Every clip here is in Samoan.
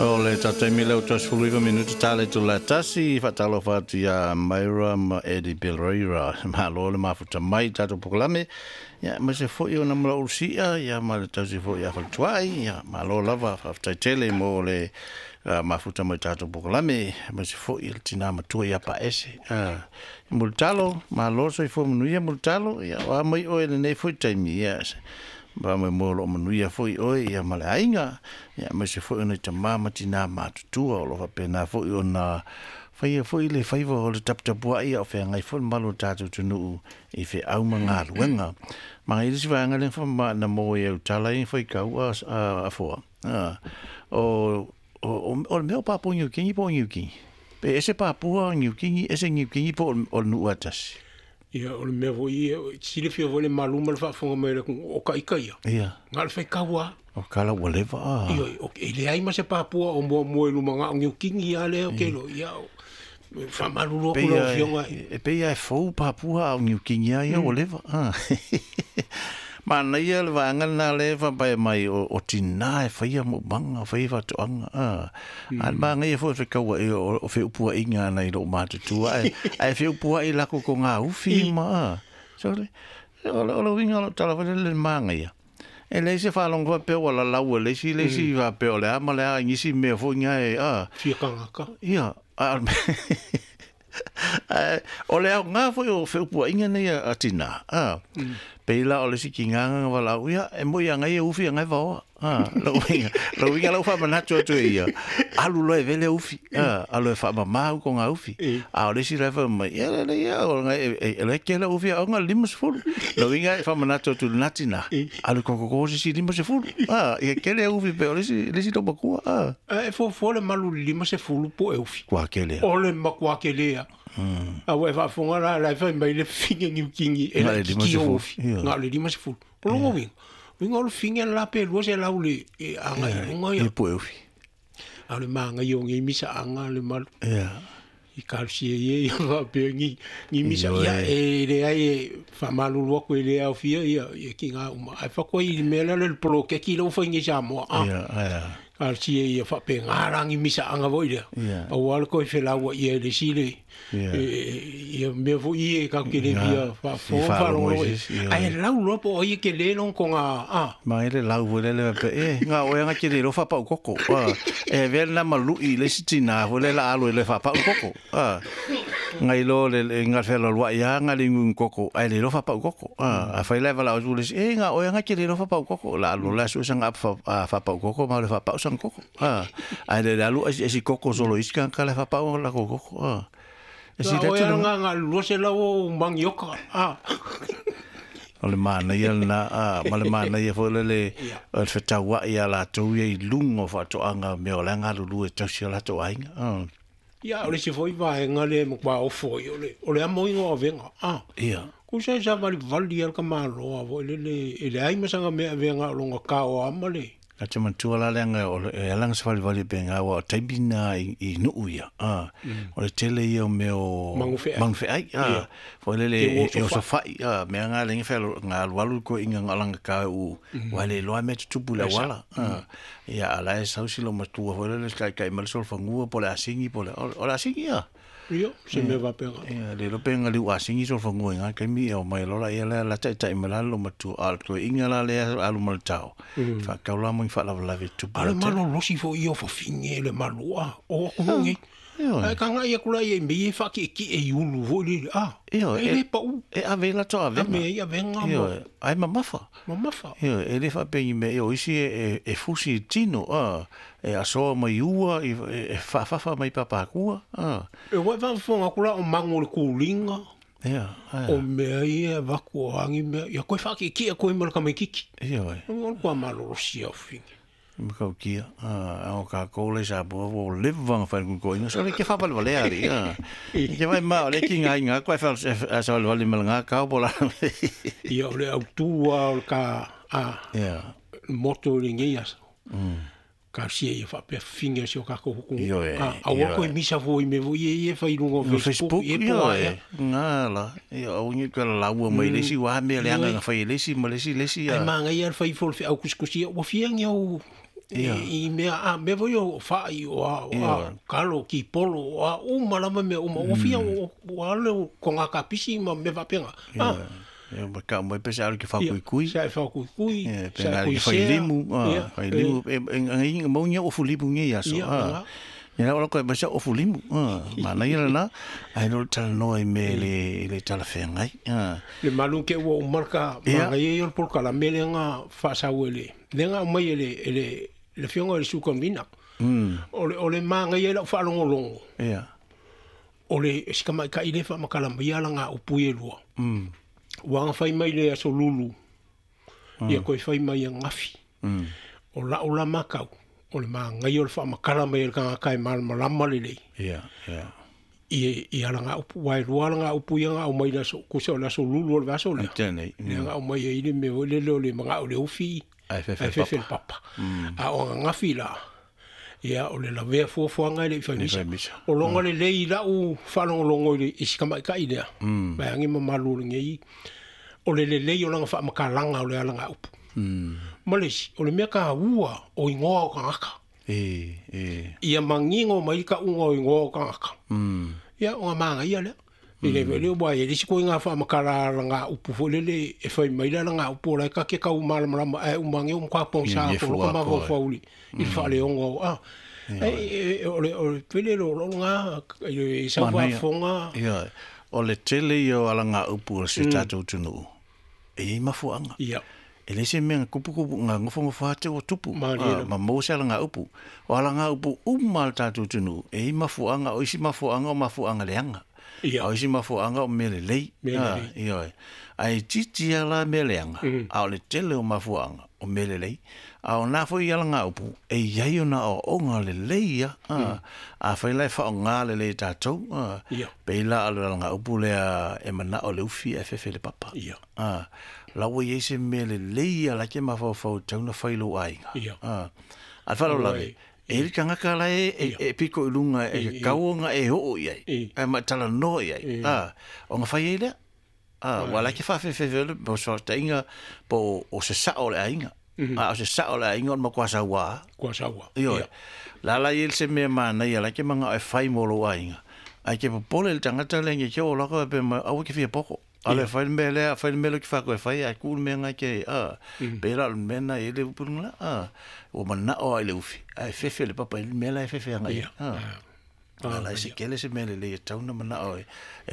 O le tatou taimi lea ua 39 minute tala i tula tasi faatalofa atu ia Myra ma Eddie Belreira. Malo le mafuta mai i tatou polokalame. Ia, aemaise foi ona malaulusia ia ma le tausi foi ia Faletuai. Ia, malo lava, faafetai tele mo le mafuta mai tatou polokalame. Aemaise foi le tina matua ia Paese. Mulitalo, malo soifua manuia Mulitalo. Ia, o a mai oe lenei foi taimi. Ia, faamoemoe o loo manuia foi oe ia ma le aiga, ia aemaise foi o nai tamā ma tinā matutua o lo o faapena foi ona faia foi le faiva o le taputapuai a o feagai foi le mamalu o le tatou atunuu i feau ma galuega. Ma i le isi vaega lea na maua i au tala ia faitau a Afoa, o o le mea o Papua Niu Kini po o Niu Kini. Pe ese Papua Niu Kini, ese Niu Kini po o le nuu lava e tasi. Ia, o le mea foi ia, e silafia foi le malu ma le faafofoga mai a le atunuu, o ka ika ia. Ia. Na o le faitau lava. O kala ua leva a. Ioe, e leai ma se Papua o muamua i luma, na o Niu Kini lava lea ou te iloa. Ia, e faamalulu atu lau Afioga. E pei lava e fou Papua a o Niu Kini lava ia ua leva. Manaia le vaega lena lea e faapea mai o tina e faia maumaga, faia faatoaga. A le manaia foi o fekauai o feupuaiga nai lou matutua ae feupuai lakou kogaufi ma. Sole, o le uiga o lau tala foi lele i le manaia, e leai se faalogo faapea ua lalau e le isi le isi faapea o le a ma le a i nisi mea foi na e. Fia tagata. Ia, a Ae o le aoga foi o feupuaiga nei a tina, a, pei la o le isi tiga na valaau, ia, e moi a ngai e ufi a ngai vaoa. A, lou uiga, lou uiga lau faamanatu atu e ia, alu loa e vele ufi, a, alu e faamama au ko ngā ufi. A o le isi la e fai mai, ia, le, ia, o ngai, e, e, e kele ufi a onga 50. Lou uiga e faamanatu atu i lena tina, alu kokoko se isi 50. A, ia kele ufi pe o le isi, le isi makua, a. E fuafua le malu i le 50 po o e ufi. Kua kele. O le matua kele lava. A ua e faafofoga la, la e fai mai le fine Niu Kini e laitiiti ou ufi. Na o le 50. O lona uiga, uiga o le fine la pe 200 le e agai i luga ia. Po e ufi. A o le manaia o nei misaaga le malu. I talosia ia ia faapea ni ni misa ia e leai e faamalulu atu e le aofia ia ia tiga uma ae faatoa i le mea lea le poloketi lea ua fai nei i Samoa a talosia ia faapena la ni misaaga foi lea aua le toe felauai ai le isi le ia mea foi ia tatou te le fia faafofoga ma faalogologo i ai ae lau loa po o ai e tele lona toga a Ma e le lau foi lele faapea, e, nga oe anga te le iloa faapau koko. E avea lena ma lui i le isi tina foi lele la alu e le faapau koko. Nga iloa le, le, nga fealualuai lava nga le inuinu koko, ae le iloa faapau koko. Afai la e valaau atu le isi, e, nga oe anga te le iloa faapau koko. La alu loa la sue sanga apu faapau koko ma le faapau sana koko. Ae le le alu esi esi koko solo i isi tagata la e faapau lakou koko. E Nga oe anga nga 200 ou manioka. O le manaia lena, ma le manaia foi lele o le fetauai a latou ia i luga o faatoaga mea o la e galulue e tausi o latou aiga. Ia, o le isi foi vaega lea e matua ofo ai, o le, o le amoina o avega. Ia. Tusa e savalivali lava le tamaloa foi lele, e leai ma sana mea e avea na o lona tao lava ma le. A te manatua la leaga o le, e ala ona savalivali pe nga aua o taimi na i nuu ia, a, o le tele ia o mea o Magufeai. magufeai, a, foi lele e osofai, a, mea nga le nga nga alualu ko inga nga langa ka u, wa le loa mea tutupu le auala, a, ia a la e sau si lo matua foi lele kai kai ma le solofangua po o le asigi po o le, o le asigi ia. Ia, se mea faapena. Ia, le iloa pe galiu asigi solofanua i nga taimi ia omai loa la ia lea la taitai mai la le matua, a o le toeaiga la lea alu ma le tao, faatau la mo ni faalavelave e tupu A o le malolosi foi ia o fafine le malu a o atunuu nei. Ae tagai atu la ia i mea ia e faatietie i ulu foi lele, a, e le pau. E ave ai latou avega. Ave ai avega ma. Ioe, ae mamafa. Mamafa. Ioe, e le faapea i ni mea, o isi e fusi i tino, a, E asoa mai ua, e faafafa mai papakua, a. E ua e faafofoga atu la o mago o le kuliga, o mea ia e avatu o a ni mea, ia toe faatietie atu ai ma le tamaititi. Ioe. O le matua malolosi lava o fafine. Matautia, a o tatou la i Samoa ua leva ona fai le koina, so le ke faavalevalea alii, a. E te vaai ma o le tigaina atu ae savalivali ma lena kao po o le a. Ia o le autu lava o le ta, a, moto i lenei aso. Talosia ia faapea fafine o si o tatou atunuu. Ioe, Aua toe misa fua i mea foi ia ia e fai i luga o Facebook, ia po o a ea. Nga la, ia aua ne i toe lalaua mai le isi aua mea leaga na fai e le isi ma le isi le isi. Ae manaia le fai ifo o le feau tusitusia, ua fia ni au I mea a mea foi o fa'i o a o a kalo ki polo o a uma lava mea uma ua fia ua ale o ko ngā kapisi ma mea faapega. A ia ma ka mai pese alu ke whakuikui. Sa e whakuikui, sa e kuisea. Whailimu, whailimu, e maungia ofu limu ngi aso. Ia la ko ba sa ofu limu. Ma na ia na ai no tala noa i me le tala whengai. Le malu ke ua umarka ma ngai o polka la mele nga whasau ele. Le nga mai ele le fionga le sukonvina. O le ma ngai la whalongolongo. Ia. O le sikama ka ile fa makala mai ala nga upu e lua. Ua nga whai mai le aso lulu. Ia koe whai mai a ngafi. O la o la makau. O le maa ngai o le wha makala mai le kanga kai malama le lei. Ia, ia. I ala ngā upu, wai rua ala ngā upu ia ngā o mai la so, kusa o la so lulu o le vaso lea. Tēnei. Lea ngā o mai e ile me o le leo le mga o le ufi. Ai fefe le papa. A o ngā ngafi la. Ia o le lavea fuafuaga e le i faimisa. O longa le lei lau whalongolongo i le isikamaikai lea. Mai angi mamalu o le ngei. O le lelei o langa whaamakalanga o le ala ngā upu. Ma le isi, o le mea ka ua o ingoa o kangaka. Ia mangingo mai ka unga o ingoa o kangaka. Ia o ngā maanga ia lea. I le vele o e lisi ko ngā whaamakala ala ngā upu fo lele e whai mai la ngā upu o lai ka ke kau malamalama e umange o mkwa pongsa ko loko ma fauli i whaaleonga o a. O le pele lo lo ngā i sa whaafonga. Ia, o le tele i o ala ngā upu o se tātou tunu. E i mafuanga. Ia. E le se mea kupu ngā ngofo te o tupu. Ma mose ala ngā upu. O ala ngā upu uma le tātou tunu. E i mafuanga, o isi mafuanga o mafuanga leanga. Ia. O isi mafuanga o mele lei. Ia. Ai titi ala mele leanga. A o le tele o mafuanga o mele lei. A o nā foi ala ngā upu. E iai o nā o ngā le lei ia. A whai lai wha o ngā le lei tātou. Peila ala ngā upu lea e mana o le ufi e fefe le papa. Ia. Lawa i se mele lei ala ke mawhau tauna whailo ainga. Ia. A whalo lawe. E le kangaka la e piko i lunga e kauonga e hoo i ai. E matala noa i ai. O ngā whai e lea. Wa la ke whawhewhewhe le, po sa tainga, po o se sao le ainga. O se sao le ainga o ma kwa sawa. Kwa sawa. Io. La la i se mea mana ia la ke manga e whai molo ainga. Ai ke popole le tangata le nge kia o lako e pe ma awa ke whia poko. Ale whai mea lea, whai mea ki whako e whai, ai kūl mea ngai ke, pera le mea na e le upurunga la, o mana o ai le ufi, ai fefe le papa, le mea la e fefe anga ia. Ala se kele se mea le le tauna mana o e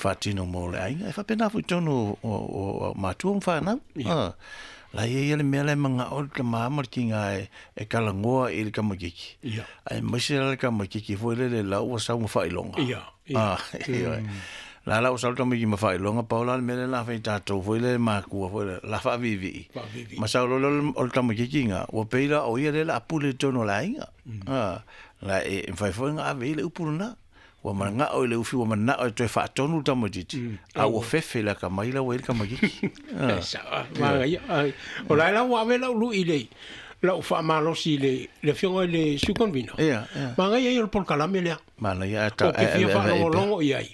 whātino mō le ainga, e whapena fui tonu o mātua o whānau. La ia le mea le manga o le maama ki ngā e kalangoa i le kamakiki. Ai maise la le kamakiki foi le le lau o sau mawhailonga. Ia. La la o salta mai ma whailonga paula le mele la whai tātou foi le mākua foi le la whaavivi. Ma sau lolo o le kamakiki ngā, ua peila o ia le la apule tono la inga. La e whai foi ngā ave i le upuru nā. Ua mana o i le ufi, ua mana o i toe whaatonu tamatiti. A ua fefe la ka mai la ua i le kamakiki. Sa, maa ia. O lai la ua ave lau lui le, lau whaamalosi le fionga i le sukonvina. Ia, ia. Maa ngai ai o le polkalame lea. Mana ia e ta O ke fia whaalongolongo i ai.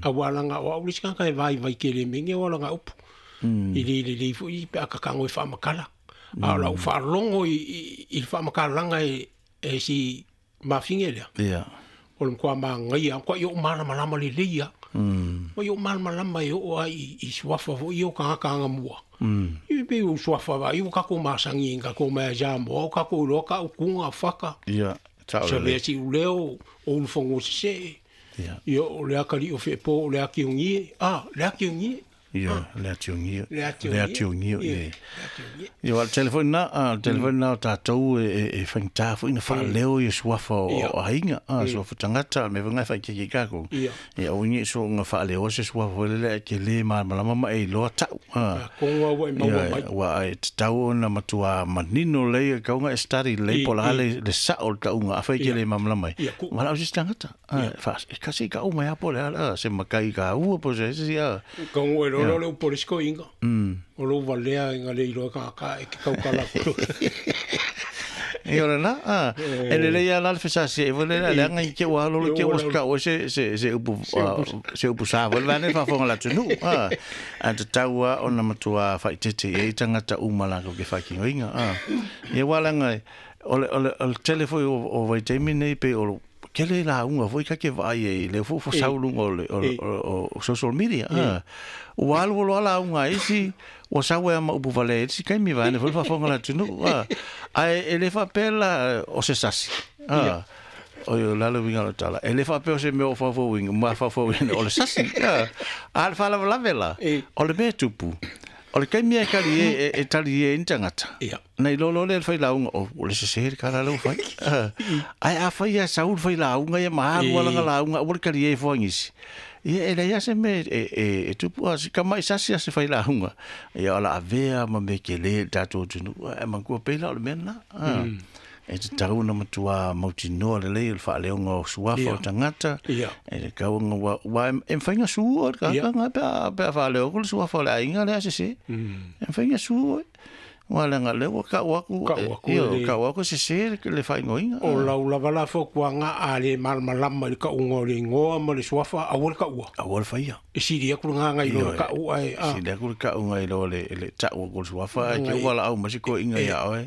A wala ngā o aulisi kanga e vai vai ke le menge o ala ngā upu. I le le le i pe akakango e whaamakala. A lau whaalongo i le whaamakalanga e si mawhinge lea. Ia. O le mkua maa ngai a kwa i o malamalama le leia. O i o malamalama e o ai i suafa fo i o kangakanga mua. I pe o suafa va i o kako masangi kako mea jambo o kako iloa ka ukunga whaka. Ia. Sa lea si uleo o ulufongo se. Ia. Ia o lea kari o whepo o lea kiongi. Ah, lea kiongi. Ia, lea tiongi. Lea Lea tiongi. Lea tiongi. Ia, o telefone na o tātou e whangita fo ina whaaleo i suafa o ainga. Suafa tangata, me whangai whai keke kako. Ia. Ia, o ingi so ngā whaaleo se suafa wele e ke le malama ma e loa tau. Konga ua e maua mai. Ua e te tau ona matua manino lei, kaunga e study lei pola le sao le taunga, a whai ke le malama mai. Wala o se tangata. E kasi ka umai apo le ala, se makai ka ua po se se ia. Kongo e lolo le upolisko inga. O lo valea inga le iloa ka ka e ke kaukala kuro. E ora na, e le lei ala le fesasi e vole le anga i ke ua lolo ke ua ska o se upu se upu sa vole vane fa fonga la tunu. A te taua ona matua whaitete e tangata umala ko ke whakingo inga. E wala ngai O le tele foi o vaitaimi nei pei o tele lauga foi ka ke vaai ai le fo sauluga o le o social media. Ua alu loa lauga a isi ua sau ai ma upu valea i isi taimi vaeane foi le faafofoga a le atunuu. Ae e le faapea la o se sasi. O le a le uiga o le tala. E le faapea o se mea o faufauina, mafaufauina o le sasi. A o le faalavelave la, o le mea e tupu, o le taimi e tali e, e tali e ni tagata. Na iloa loa lea le failauga, o le sese le tala lea ua fai. Ae afai lava e sau le failauga ia ma alu lava lana lauga aua le tali e fua nisi. Ia e leai lava se mea e tupu a si tamai sasi a se failauga. Ia o le a avea ma mea tele i le tatou atunuu. Ae manatua pei la o le mea lena. E tatau ona matua mautinoa lelei o le faaleoga o suafa o tagata. E tatau ona aua e mafai ona sue oe le tagata lena pe a faaleo atu le suafa o le aiga lea sese. E mafai ona sue oe. Aua leaga o lea ua tau atu, tau atu e sese le faaigoaina. O lau lava la fautuaga a le malamalama i le tauga o le igoa ma le suafa, aua le taua. Aua le faia. E sili atu le gaga i lo le tau ae a. Sili atu le tauga i lo le tau atu o le suafa ae te valaau mai se toeaina ia oe.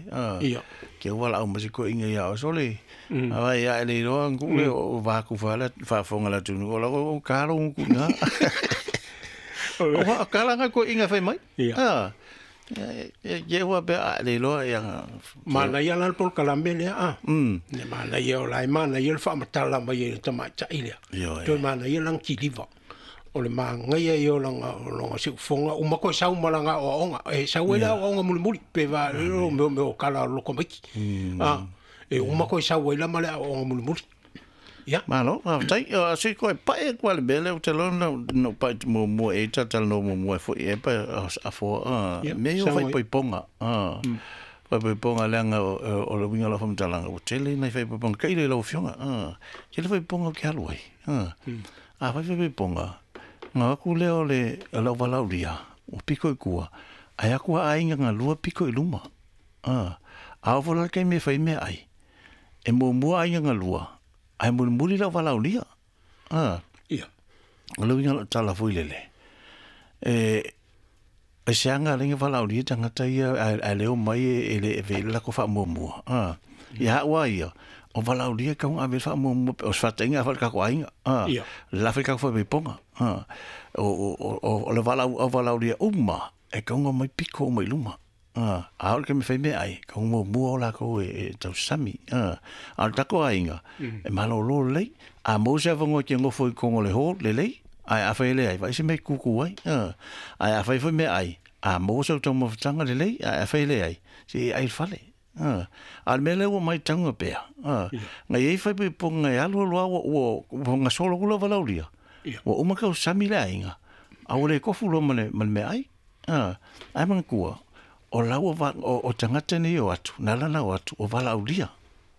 Ke valaau mai se toeaina ia oe. Sole, ai a e le iloa gu le o vakufa le faafofoga le atunuu o la o kalo nguku ina. O kala nga toeaina fai mai. Ia ua pe a le iloa ia. Manaia la le polokalame lea a. Le manaia o la e manaia le faamatala mai e le tamaitai lea. Toe manaia lana kiliva. O le magaia ia o lana siufoga uma koe sau ma lana aoaoga. E sau ai le aoaoga mulimuli pe va o mea o kala o loko maiki. E uma koe sau ai la ma le aoaoga mulimuli. Ia. Malo, faafetai. O se koe pae atu lava le mea lea ou te iloa na ou pae muamua e talatalanoa muamua ai foi e pa afoa mea ia o faaipoipoga. Faaipoipoga leaga o le uiga o lau faamatalaga ua tele nai faaipoipoga tailo i lau Afioga. Tele faaipoipoga ou te alu ai. A fai faaipoipoga, ona o atu lea o le au valaaulia ua piko i tua, ae atu lava aiga galua piko i luma. A oo foi la le taimi e fai mea ai, e muamua aiga galua, ae mulimuli le au valaaulia. O le uiga o lau tala foi lele, e se aga ala ai ona valaaulia tagata ia ae le omai e le ave i le latou faamuamua. Ia au lava ia, o valaaulia e tatau ona ave i le faamuamua, o se faataitaiga a fai i le tatou aiga, le la fai le tatou faaipoipoga. O le au valaaulia uma e tatau ona omai piko uma i luma. A oo i le taimi e fai mea ai, tatau ona muamua o latou e tausami. A o le tatou aiga, e malolo lelei. A maua se avanoa e te nofo i totonu o le hall, lelei. Ae afai e leai, vaai se mea e tutu ai. Ae afai foi mea ai, a maua sau taumafataga lelei, ae afai e leai, se i ai i le fale. A o le mea lea ua matauga pea, na i ai faaipoipoga e alu alu lava ua gasolo atu le valaaulia, ua uma tausami le aiga, a ua le tofu loa ma le meaai. Ae manatua, o lau o tagata nei o atu, na ala ona o atu, o valaaulia.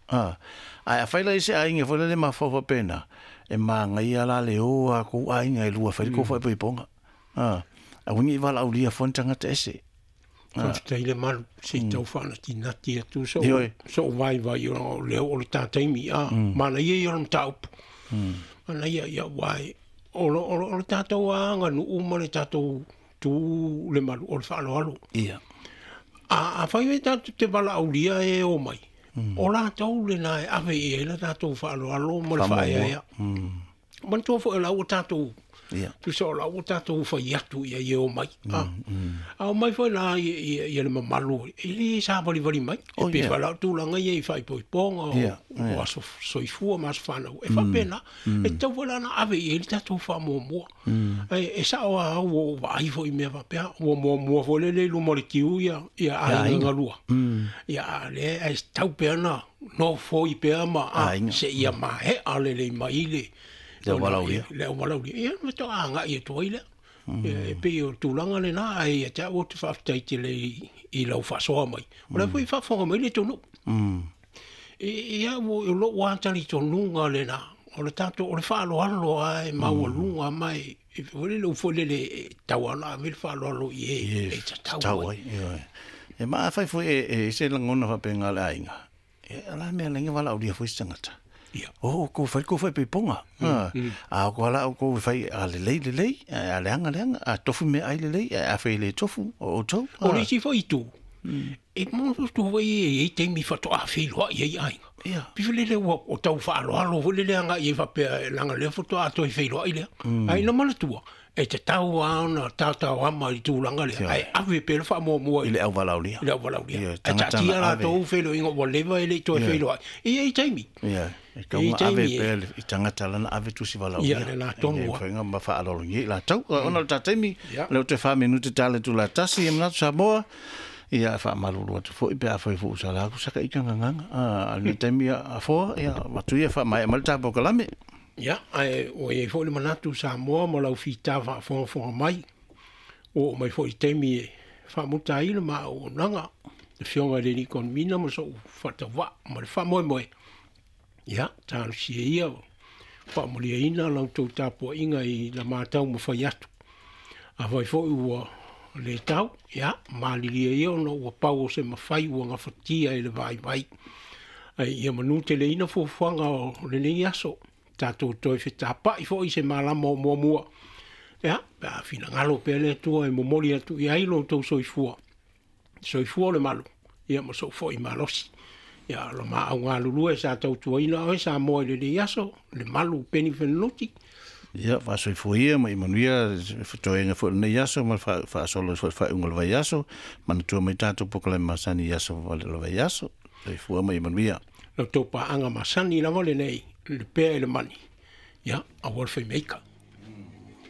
Ae afai la i se aiga foi lele mafaufau faapena, e magaia la le o a kou aiga e lua e fai le tou faaipoipoga. Aua ne i valaaulia fua ni tagata ese. Faafetai le malu, se i tau faanatinati atu so'u vaivai o lea o le ta taimi a manaia ia o le mataupu. Manaia ia aua o le tatou aganuu ma le tatou tu le malu o le faaaloalo. Afai e tatou te valaaulia e o mai, o latou lena e ave i ai le tatou faaaloalo ma le faaeaea. Manatua foi o la ua tatou tusa o la ua tatou fai atu ia e o mai. A o mai foi la ia le mamalu e le savalivali mai. E pei foi la o tulaga ia i faaipoipoga o aso soifua ma aso fanau. E faapena, e tatau foi la ona ave i ai le tatou faamuamua. E sao lava au ua ou vaai foi i mea faapea, ua muamua foi lele i luma o le tiu ia aiga galua. Ia a o lea e tatau pea ona nofoi pea ma seia maea lelei mai le Le au valaaulia. Le au valaaulia. Ia, faatoa agai atu ai lea. E pei o le tulaga lena, ae ia te au ou te faafetai tele i lau faasoa mai. O la foi e faafofoga mai le atunuu. Ia, o lou lava talitonuga lena, o le tatou, o le faaaloalo lava e maualuga ma e foi lele, foi lele e tatau lava ona ave le faaaloalo i e e tatau ai. E ma afai foi e i se lagona faapena o le aiga, e o le a le mea e ala ai ona valaaulia foi se tagata. O outou fai le tou faaipoipoga. A o la outou e fai a lelei lelei, a leaga leaga, a tofu meaai lelei, ae afai e le tofu, o outou. O le isi foi itu, E mo tu foi e i taimi faatoa feiloai ai aiga. Pei foi lele ua o tau faaaloalo foi lele agai ai faapea leaga lea faatoa toe feiloai lea. Ae ina manatua, e tatau lava ona taotaoama i le tulaga lea, ae ave pea le faamuamua i le auvalaulia. I le auvalaulia. Ae taatia latou feiloaiga ua leva e le i toe feiloai. E i ai taimi. E tau ona ave pea i tagata lana ave tusi valaaulia. Ia, le la tonu lava. Faiga ma faaaloalogia i latou. Ona o le ta taimi, lea ua toe 4 minute tala i le itula e 1, ia manatu Samoa, ia faamalulu atu foi pe afai foi ua sala atu sa ita gagaga. A o lenei taimi Afoa, ia avatu ia faamaea mai le ta polokalame. Ia, ae ua i ai foi le manatu Samoa ma lau fita faafogafoga mai, ua oo mai foi i le taimi e faamuta ai le ma auaunaga, le Afioga i le Alii Konimina ma sou faatauvaa ma le faamoemoe. Ia, talosia ia faamaliaina la outou tapuaiga i la ma taumafai atu. Afai foi ua le tau, ia, malilie ia ona ua pau o se mafai ua gafatia e le vaivai. Ai ia manuteleina fuafuaga o lenei aso, tatou toe fetapa'i foi i se malama o muamua. Ia, pe a finagalo pea le Atua e momoli atu i ai lo outou soifua, soifua o le malu, ia ma sou foi malosi. Ia, lo maau galulue sa tautuaina oe Samoa i lenei aso, le malu Peni Fenoti. Ia, faasoifua ia ma ia manuia le fetoega foi o lenei aso ma le faasolo foi i le faaiuga o le vaiaso. Manatua mai tatou polokalame masani i aso o le vaiaso. Soifua ma ia manuia. La outou paaga masani lava lenei, le pea i le mani, ia, aua le fai meika.